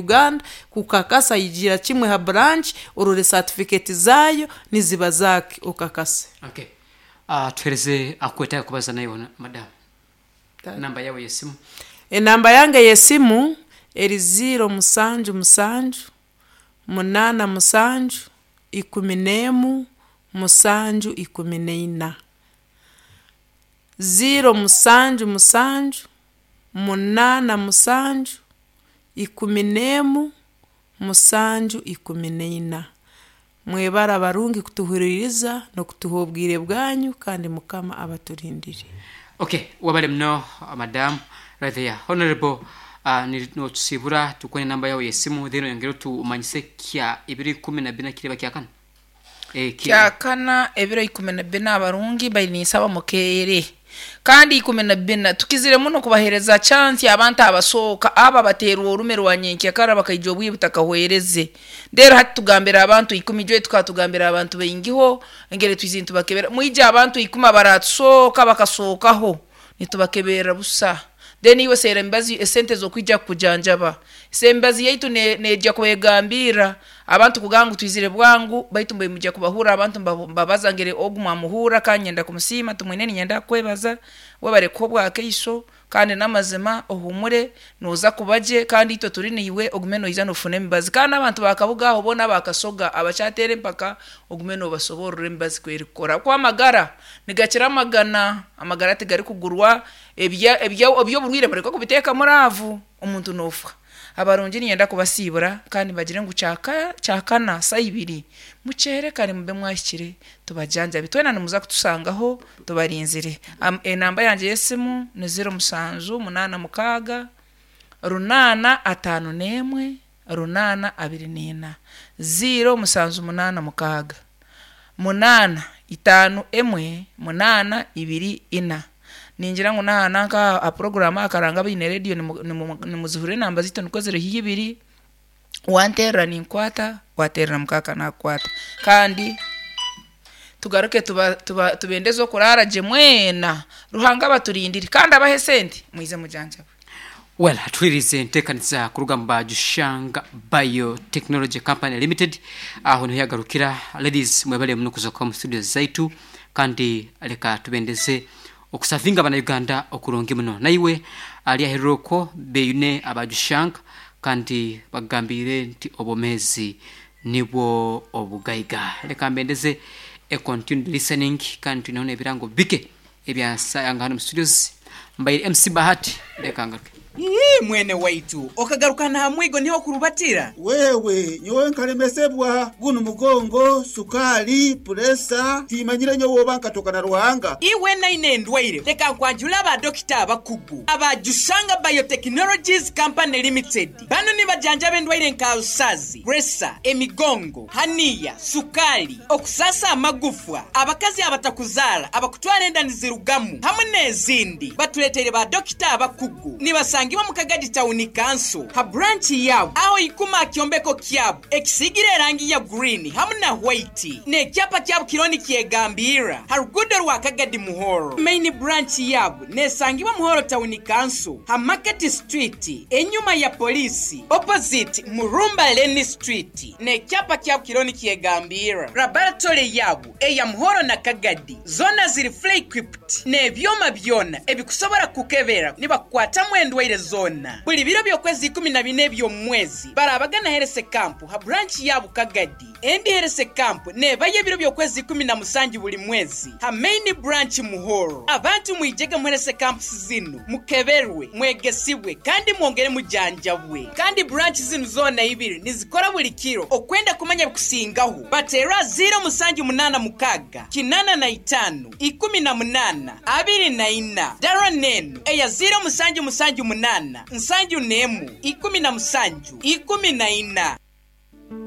Uganda kukakasa ijira kimwe ha branch orore certificate zayo niziba zake okakase. Okay. Tuhereze akwetaaga kubaza naiwe madam. Namba yawe y'esimu. Enamba yange y'esimu eri 077 87 11 7 14. 077 87 11 7 14. Mwebare abarungi kutuhuririza n'okutuha obwire bwanyu kandi Mukama abaturindire. Okay, wabale muno madam right there. Honorable notusibura tukone namba yawe y'esimu then oyongere otumanyise kya ibiri kumi na bina kireba kyakana. Kyakana ebiro 14 abarungi baininsaba mukeere kandi 14 tukizire muno kubahereza chance abantu abasooka aba baterwa orume rwa nyenkyakara bakaija obwire butakahwereze. Rero hati tugambira abantu 10 jwe tukatugambira abantu baingiho engeri twize nitubakebera mwije abantu 10 abaratusooka bakasookaho nitubakebera busa. Then iwe seera emibazi esente z'okwija kukujanjaba. Embazi yaitu neija kwegambirra abantu kugamba ngu twizire bwangu baitu mbwe mwija kubahurra abantu mbabaza ngeri ogu mwamuhurra kandi nyenda kumusiima tumwine ninyenda kukwebaza webare kuha obwakaiso kandi n'amazima ohumure nooza kuba gye kandi itwe turi niiwe ogume noija nofuna emibazi. Kandi n'abantu bakabuga aho boona abakasoga abakyateera empaka ogume noobasoborra emibazi kwerikukora ahabw'okuba amagara nigakira amagana, amagara tigarikugurwa eby'oburwaire mureke kubiteeka muraavu omuntu noofa. Abarungi niinyenda kubasiibura kandi mbagire ngu kyakana saaha ibiri mukyere kare mube mwahikire tubajanjabe. Twena nimuza kutusangaho tubarinzire. Enamba yangye y'esimu ni 0786 851 824. 0786 851 824. Ningira ngu naha nanka aha program aha karanga abaine rediyo nimuzihurira enamba zaitu nikwo ziri haihi ibiri, wanteerera ninkwata, wateerera mukaaka naakukwata. Kandi tugaruke tubendeze okuraara gye mwena, Ruhanga abaturindire kandi abahe esente mwize mujanjabe. Well, tuhirize enteekaniza kuruga mu Bajushanga Biotechnology Company Limited. Aho niho yagarukira. Ladies, mwebale muno kuzoka mu studio zaitu kandi leka tubendeze okusavinga abana okurungi muno. Naiwe ali ahereroko beyune abajushanga kandi bagambire nti obomezi nibwo obugaiga. Leka mbendeze e continued listening kandi tunaona ebirango bike ebyansanga hano mu studios. Mbaire MC Bahati, leka ngaruke. Ii, mwene waitu okagarukana ha mwigo niho kurubatira. Wewe nyowe nkalemesebwa guno mugongo sukali puresa timanyire nyowe oba nkatoka na Ruhanga. Iwe naine endwaire leka nkwanjula abadokita abakugu abajushanga Biotechnologies Company Limited. Bano nibajanjaba endwaire nka rusazi, puresa, emigongo, haniya, sukali, okusasa amagufwa, abakazi abatakuzaara, abakutwara enda nizirugamu hamwe n'ezindi. Batuleteire ba dokita abakugu nibasangibwa mu Kagadi Town Council ha branch yabo aho ikuma kyombeko kyabo ekisigire erangi ya green hamwe na white n'ekyapa kyabo kironi kyegambira ha rugudo rwa Kagadi Muhoro. Main branch yabo nesangibwa Muhoro Town Council ha Market Street enyuma ya polisi opposite Murumba Lane Street n'ekyapa kyabo kironi kyegambira. Laboratory yabo eya Muhoro na Kagadi zona ziri fully equipped n'ebyoma byona ebikusobora kukebera nibakukwatamu endwaire zona. Buli biro by'okwezi 14 eby'omwezi barabagana Herese Camp ha branch yabo Kagadi. Endi Herese Camp nebayo ebiro by'okwezi 17 buli mwezi ha main branch Muhoro. Abantu mwijege mu Herese Camps zinu mukeberwe, mwegesibwe kandi mwongere mujanjabwe. Kandi branch zinu zona ibiri nizikora buli kiro okwenda kumanya bikusingaho. Batera 0786 85 18 24. Dara nenu eya 0778 71 17 14.